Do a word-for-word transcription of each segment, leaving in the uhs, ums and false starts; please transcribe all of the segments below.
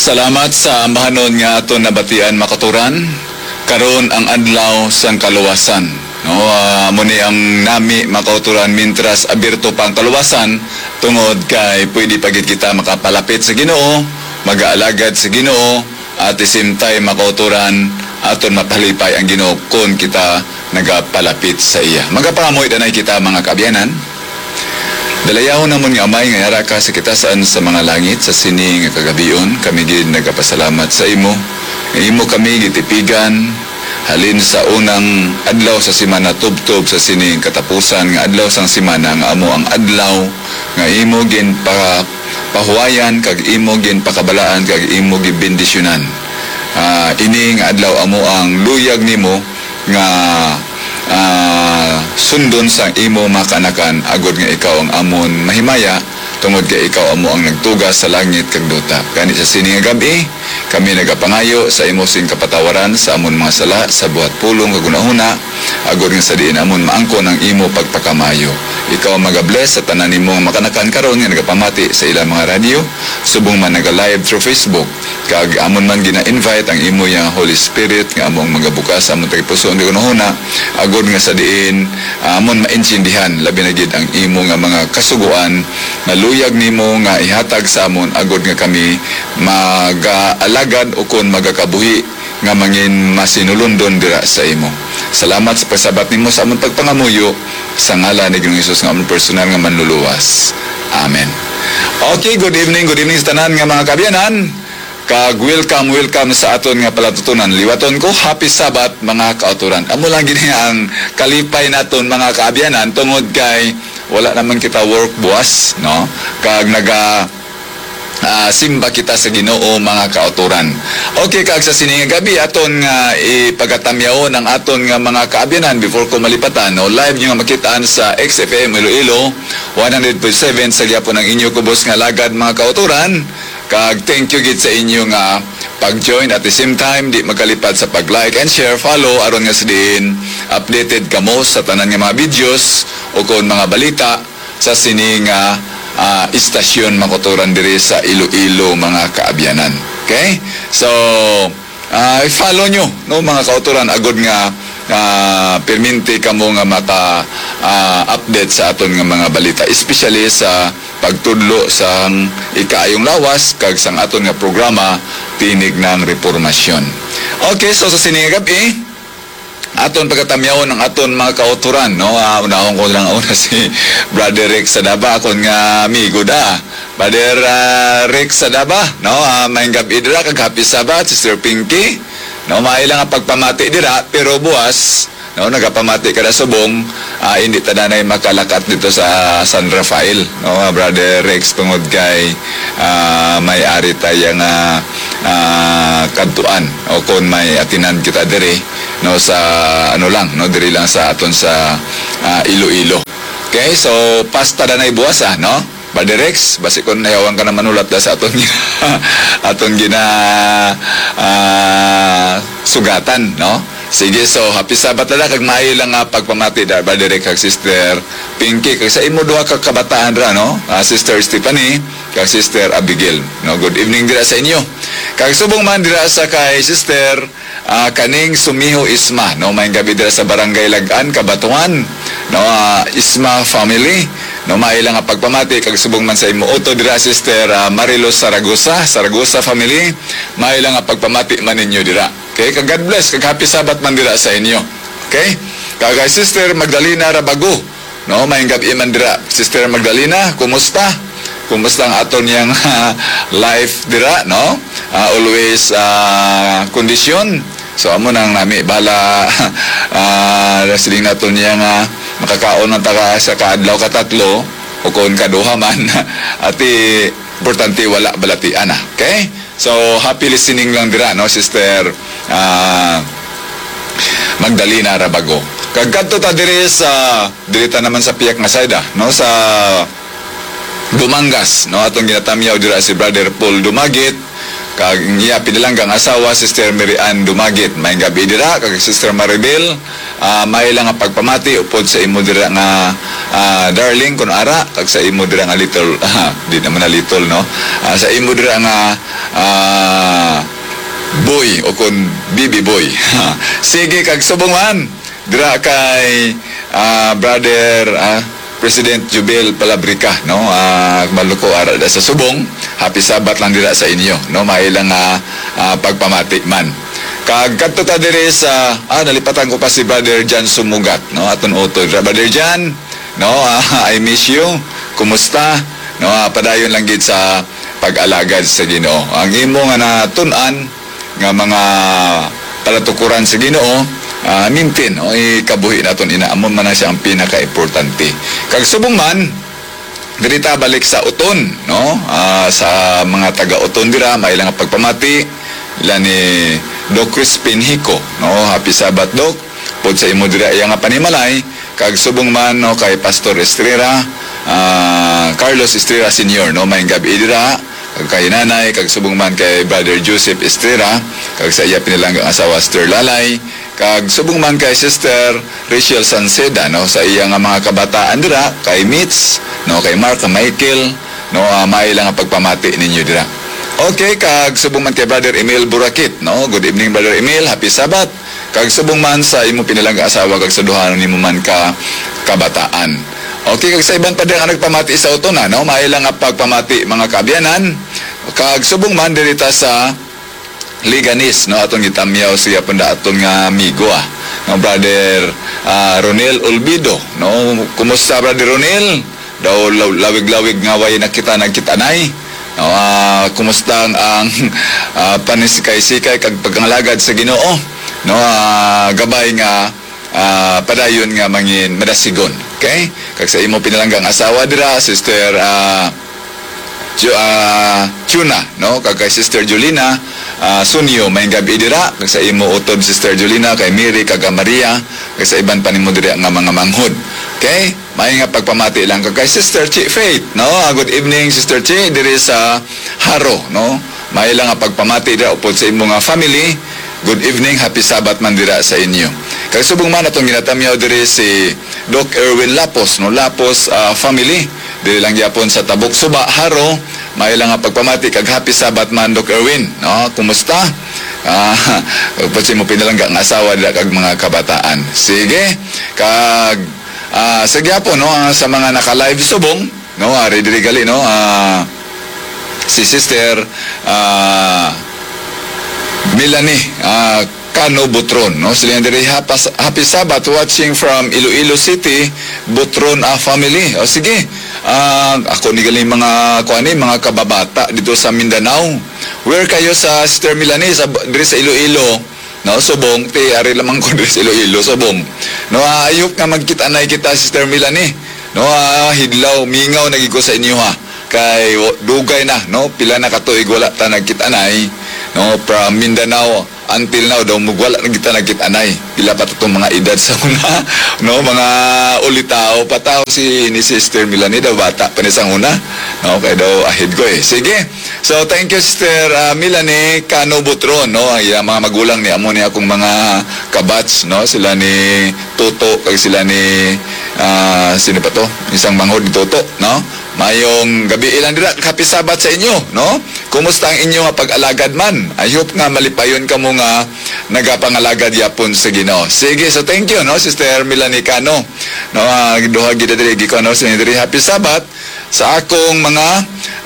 Salamat sa ambahanon nga aton nabatian, mga kauturan. Karon ang adlaw sang kaluwasan. No, ah, amo ni ang nami, mga kauturan, mintras abierto pa ang kaluwasan, tungod kay pwede pa gid kita makapalapit sa Ginoo, magaalagad sa Ginoo, at the same time, mga kauturan, aton mapalipay ang Ginoo kon kita nagapalapit sa iya. Magapangamuy danay kita, mga kaabyanan. Dalayawon namon nga Amay nga yara ka sa kitasan sa mga langit, sa sini nga kagabion, kami gid nagapasalamat sa imo. Nga imo kami gitipigan, halin sa unang adlaw sa semana tubtob sa sini katapusan nga adlaw sang semana, nga amo ang adlaw nga imo ginpahuwayan kag imo ginpakabalaan kag imo gibendisyonan. Ah, ini nga adlaw amo ang luyag nimo nga, ah, sundon sang imo mga kaanakan, agod nga ikaw ang amon mahimaya, tungod kay ikaw amo ang nagtuga sa langit kag duta. Gani sa sini nga gab-i, kami nagapangayo sa imo sing kapatawaran sa amon mga sala, sa buhat, pulong kag hunahuna, agod nga sa diin amon maangkon ang imo pagpakamaayo. Ikaw ang magabless sa tanan nimo nga makanakan karon nga nagapamati sa ilang mga radyo, subong man naga-live through Facebook. Kag amon man gina-invite ang imo yang Holy Spirit nga amo ang magabukas sa amon tagipusoon kag hunahuna, agod nga sa diin, ah, amon maintindihan labi na gid ang imo nga mga kasugoan nga luyag nimo nga ihatag sa amon, agod nga kami magaalagad ukon magakabuhi nga mangin masinulundon dira sa imo. Salamat sa pagsabat nimo sa amon pagpangamuyo, sa ngalan ni Ginoong Jesus nga amon personal nga Manluluwas. Amen. Okay, good evening, good evening sa tanan nga mga kaabyanan. Kag welcome, welcome sa aton nga palatutunan. Liwaton ko, happy Sabbath, mga kauturan. Amo lang gid ang kalipay naton, mga kaabyanan, tungod kay wala naman kita work buwas, no? Kag naga, ah, simba kita sa Ginoo, mga kauturan. Okay, kag sa sini nga gabi, aton nga ipagatamyawon ang aton nga mga kaabyanan before ko malipatan, no? Live nyo nga makitaan sa X F M Iloilo, one hundred point seven sa gyapon ang inyo kubos nga lagad, mga kauturan. Kag thank you gid sa inyo nga pag-join. At the same time, di magkalipad sa pag-like and share, follow, aron nga sa diin updated kamo sa tanan nga mga videos o kon mga balita sa sini nga, ah, istasyon, mga kauturan, diri sa Iloilo, mga kaabyanan. Okay? So, ah, i-follow nyo, no, mga kauturan, agod nga, ah, perminti kamo nga maka, ah, update sa aton nga mga balita, especially sa pagtudlo sang ikaayong lawas kag sang aton nga programa, Tinig ng Repormasyon. Okay, so sa sini nga gab-i, aton pagatamyawon ang aton mga kauturan, no? Ah, unahon ko lang una si Brother Rex Sadaba, akon nga amigo da. Brother, ah, Rex Sadaba, no? Ah, maayong gab-i dira kag happy Sabbath, Sister Pinky. No, maayo lang ang pagpamati dira, pero buwas, no, nagapamati ka na subong, ah, hindi ta nanay makalakat dito sa San Rafael, no, Brother Rex, tungod kay, ah, may ari tayo nga, ah, kadtuan o kung may atinan kita diri, no, sa, ano lang, no, diri lang sa aton sa, ah, Iloilo. Okay, so pasta na nay buwas, ah, no? Brother Rex, basi kung nayawan ka na manulat na sa aton gina-, aton gina, ah, sugatan, no? Sige, so happy Sabbath na lang, kag maayo lang nga pagpamati da, Brother Rex, kag Sister Pinky, kag sa imo duha ka kabataan ra, no? Ah, Sister Stephanie, kag Sister Abigail, no? Good evening dira sa inyo. Kag subong man dira sa kay Sister, ah, kaning Sumiho Isma, no? Maayong gab-i dira sa Barangay Lagan, Cabatuan, no? Ah, Isma family, no? Maayo lang nga pagpamati kag subong man sa imo utod dira, Sister, ah, Marilos Saragosa, Saragosa family, maayo lang nga pagpamati man ninyo dira. Okay? Kag God bless, kag happy Sabbath man dira sa inyo. Okay? Kag kay Sister Magdalena Rabago, no? Maayong gab-i man dira, Sister Magdalena, kumusta? Kumusta ang aton yang life dira, no? Ah, always, ah, kondisyon. So, amo nang nami, bahala, ah, siling naton niya nga makakaon man ta ka sa kaadlaw, katatlo, o kung kaduha man. Ati, importante wala balatian, ah. Okay? So, happy listening lang dira, no, Sister, ah, Magdalena Rabago. Kag kadto ta diri sa, diri ta naman sa piyak nga side, ah, no, sa Dumangas, no, atong ginatamyaw dira si Brother Paul Dumagit, kag ang iya pinalanggang asawa, Sister Mary Ann Dumagit. Maayong gab-i dira, kag Sister Maribel, ah, maayo lang nga pagpamati upod sa imo dira nga, ah, darling, kun ara, kag sa imo dira nga little, ah, di naman na little, no? Ah, sa imo dira nga, ah, Boy o kon Bibi Boy. Sige, kag subong man, dira kay, ah, Brother, ah, President Jubel Palabrica, no? Ah, maluko ara da sa subong, happy Sabbath lang dira sa inyo, no? May lang, ah, ah, pagpamati man. Kag kadto ta diri sa, ah, nalipatan ko pa si Brother Jan Sumugat, no? Aton utod. Brother Jan, no? Ah, I miss you. Kumusta? No, ah, padayon lang gid sa pag-alagad sa Ginoo. Ang imo nga natun-an nga mga palatukuran sa Ginoo, ah, maintain, no? Ikabuhi naton ina, amo man na siya ang pinakaimportante. Kag subong man, diri ta balik sa Oton, no? Ah, sa mga taga Oton dira, may lang pagpamati ila ni Doc Crispin Hico, no? Happy Sabbath, Doc. Pod sa imo dira iya nga panimalay, kag subong man, no, kay Pastor Estrera, ah, Carlos Estrera Senior, no, may gabi dira, kag kay nanay, kag subong man kay Brother Joseph Estrera, kag sa iya pinalanggang asawa, Sister Lalay, kag subong man kay Sister Rachel Sanceda, no, sa iya nga mga kabataan dira, kay Mitch, no, kay Mark, kay Michael, no, ah, may lang ang pagpamati ninyo dira. Okay, kag subong man kay Brother Emil Burakit, no, good evening, Brother Emil, happy Sabbath. Kag subong man sa imo pinalangga asawa kag sa duha nimo man ka kabataan. Okay, kag sa iban pa dira nga nagpamati sa Oton, no? May lang nga pagpamati, mga kaabyanan. Kag subong man diri ta sa Leganes, no? Aton gitamyaw siya pun da aton nga amigo, ah, nga Brother, ah, Ronel Olvido, no? Kumusta, Brother Ronel? Daw law-, lawig-lawig nga way nakita nagkit-anay. No, ah, kumusta ang, ang, ah, panisikay-sikay kag pagpangalagad sa Ginoo? No, ah, gabay nga, ah, padayon nga mangin madasigon. Okay? Kag sa imo pinalanggang asawa dira, Sister, ah, Ju-, ah, Chuna, no? Kag kay Sister Julina, ah, Sunyo, may gabi dira. Kag sa imo utod, Sister Julina, kay Mary, kag Maria, kag sa iban pa nimo dira nga mga manghod. Okay? May nga pagpamati lang ka kay Sister Chi Faith, no? Ah, good evening, Sister Chi, diri sa Haro, no? May lang nga pagpamati dira upod sa imo nga family. Good evening, happy Sabbath man dira sa inyo. Kag subong man atong ginatamyaw diri si Doc Erwin Lapos, no? Lapos, ah, family. Diri lang gyapon sa Tabok Suba, Haro. May lang nga pagpamati kag happy Sabbath man, Doc Erwin, no? Kumusta? Ah, upod sa imo pinalangga nga asawa dira kag mga kabataan. Sige. Kag Ah, sa gyapon, no, ah, sa mga naka-live subong, no, ari diri gali, no, ah, si Sister, ah, Melanie, ah, Cano Butron, no, sila diri, "Hapas-, happy Sabbath, watching from Iloilo City, Butron, ah, family." O, sige, ah, ako ni gali mga, kuan ni, mga kababata dito sa Mindanao. Where kayo sa Sister Melanie? Sa, diri sa Iloilo? No, subong, ti ari lamang ko diri sa Iloilo, subong. No, ah, I hope nga magkit-anay kita, Sister Melanie. No, ah, hidlaw, mingaw na gid ko sa inyo, ha. Kay wa-, dugay na, no, pila na ka tuig wala ta nagkit-anay, no, from Mindanao until now daw, mag-, wala na kita nagkit-anay. Pila pa to tong mga edad sa una, no, mga ulitaw pa ta. Si, ni Sister Melanie daw, bata pa ni sa una, no, kay daw ahead ko, eh. Sige. So, thank you, Sister, ah, Melanie Cano Butron, no? Ang iyang mga magulang ni amo ni akong mga kabatch, no? Sila ni Toto, kag sila ni, ah, sino pa to? Isang manghod ni Toto, no? Mayong gabi lang dira, happy Sabbath sa inyo, no? Kumusta ang inyo nga pag-alagad man? I hope nga malipayon kamo nga nagapangalagad yapon sa Ginoo. Sige, so thank you, no, Sister Melanie Cano. No, ah, duha gid diri, gi-, ano, sa diri, happy Sabbath sa akong mga,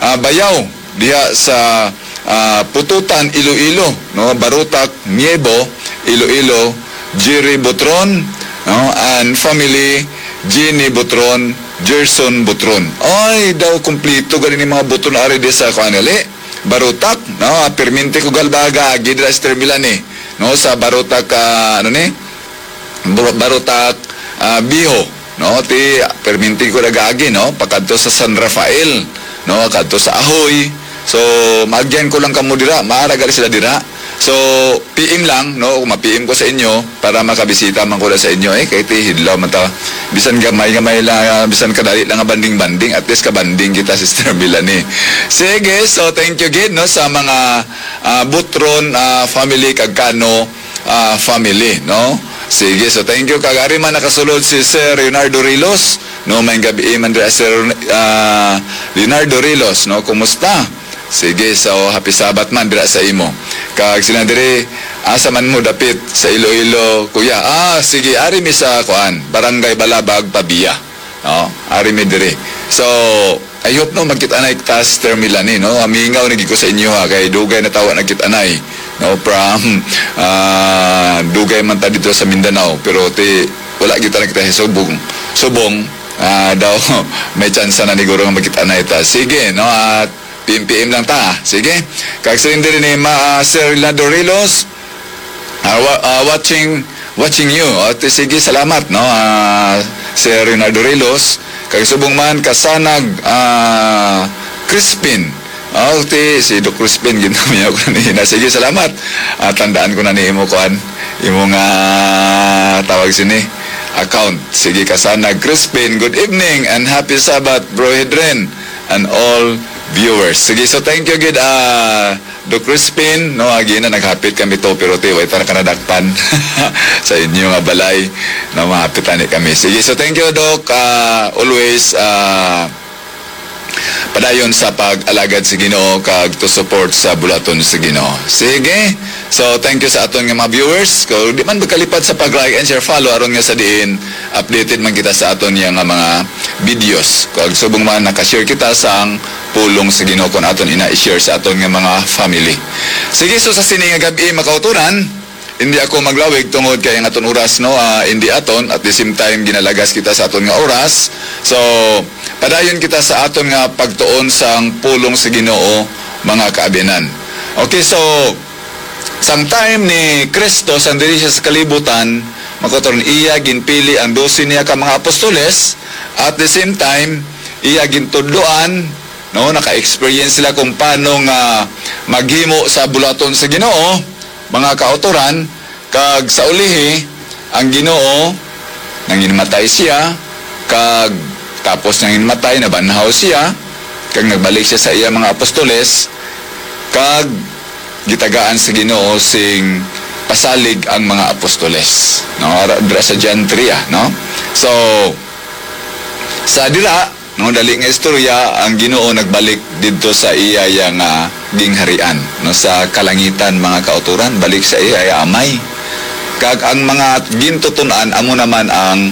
ah, bayaw diha sa, ah, Pututan, Iloilo, no? Barutak, Miebo, Iloilo, Jerry Butron, no? And family, Jenny Butron, Gerson Butron. Ay, daw kumplito gani ni mga Butron ari di sa kuan gali, Barutak, no? Perminti ko galbaga agi dira, Sister Melanie, no? Sa Barutak, ah, ano ni? Bur-, Barutak, ah, Biho, no? Ti, perminti ko nagaagi, no? Pakadto sa San Rafael, no? Kadto sa Ahoy. So, maagyan ko lang kamo dira, maara gali sila dira. So, P M lang, no? Kung ma-P M ko sa inyo, para makabisita man ko na sa inyo, eh, kay ti hidlaw man ta. Bisan gamay-gamay lang, ah, bisan kadali lang nga banding-banding, at least kabanding kita, Sister Melanie. Sige, so thank you gid, no, sa mga, ah, Butron, ah, family, kag Cano, ah, family, no? Sige, so thank you. Kag ari man nakasulod si Sir Leonardo Rilos, no? May gabi man dira, Sir, ah, Leonardo Rilos, no? Kumusta? Sige, so happy Sabbath man dira sa imo. Kag sila diri, asa man mo dapit sa Iloilo, kuya? Ah, sige, ari mi sa kuan, Barangay Balabag, Pavia. No, ari mi diri. So, I hope, no, magkita na ta, Sister Melanie, no? Amingaw na gid ko sa inyo, ha, kay dugay na tawa nagkita na, eh, no, from ah, dugay man ta dito sa Mindanao, pero ti wala kita nakita sa subong. Subong, ah, daw may tsansa na niguro nga magkita na ita. Sige, no, at P M P M lang ta. Sige. Kag sa diri ni Ma, ah, Sir Leonardo Rilos, ah, wa- ah, watching watching you. O, ti, sige, salamat, no, ah, Sir Leonardo Rilos. Kag subong man, Kasanag, ah, Crispin. O, ti, si Doc Crispin, ginamiya ko na niya. Sige, salamat. Ah, tandaan ko na ni imo, kuan, imo nga tawag sini, account. Sige, Kasanag Crispin, good evening and happy Sabbath, Bro Hedren, and all viewers. Sige, so thank you gid, ah, Doc Crispin, no, agi na naghapit kami to, pero ti, way ta na kanadakpan sa inyo nga balay, no, mahapit ani kami. Sige, so thank you, Doc. Ah, always, ah, padayon sa pag-alagad sa Ginoo kag to support sa bulaton sa Ginoo. Sige, so thank you sa aton nga mga viewers. Kung di man magkalipad sa pag-like and share, follow, aron nga sa diin updated man kita sa aton nga mga videos. Kag subong man naka-share kita sang pulong sa Ginoo, kung aton ina i-share sa aton nga mga family. Sige, so sa sini nga gab-i, mga kauturan, hindi ako maglawig tungod kay ang aton oras, no, ah, hindi aton, at the same time ginalagas kita sa aton nga oras. So, padayon kita sa aton nga pagtuon sang pulong sa Ginoo, mga kaabyanan. Okay, so sang time ni Cristo, sang diri siya sa kalibutan, mga kauturan, iya ginpili ang dose niya ka mga apostoles. At the same time, iya gintudloan, no, naka-experience sila kung paano nga maghimo sa bulaton sa Ginoo, mga kauturan. Kag sa ulihi, ang Ginoo, nanginmatay siya, kag tapos nanginmatay, nabanhaw siya, kag nagbalik siya sa iya mga apostoles, kag gitagaan sa Ginoo sing pasalig ang mga apostoles, no? Ara-, dira sa John three, ah, no? So, sa dira, no, dali nga istorya, ang Ginoo nagbalik didto sa iya, iya nga gingharian, no, sa kalangitan, mga kauturan, balik sa iya, iya Amay. Kag ang mga gintuton-an amo naman ang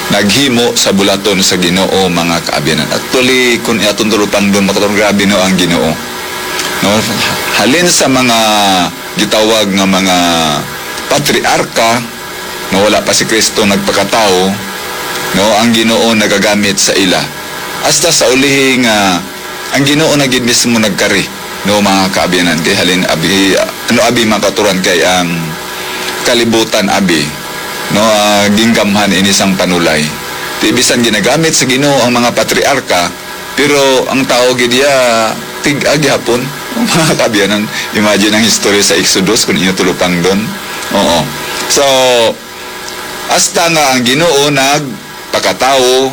naghimo sa bulaton sa Ginoo, mga kaabyanan. Actually, kung aton tulupangdon, mga kauturan, grabe, no, ang Ginoo. No, halin sa mga gitawag nga mga patriarka, no, wala pa si Kristo nagpakatawo, no, ang Ginoo nagagamit sa ila. Hasta sa ulihi nga ang Ginoo na gid mismo nagkari, no, mga kaabyanan, kay halin abi, ano abi, mga kauturan, kay ang kalibutan abi, no, ah, ginggamhan ini sang panulay. Ti bisan ginagamit sa Ginoo ang mga patriarka, pero ang tao gid iya tig-a gihapon. Mga kaabyanan, imagine ang history sa Exodus kung inyo tulupangdon. Oo. So, hasta nga ang Ginoo nagpakatawo,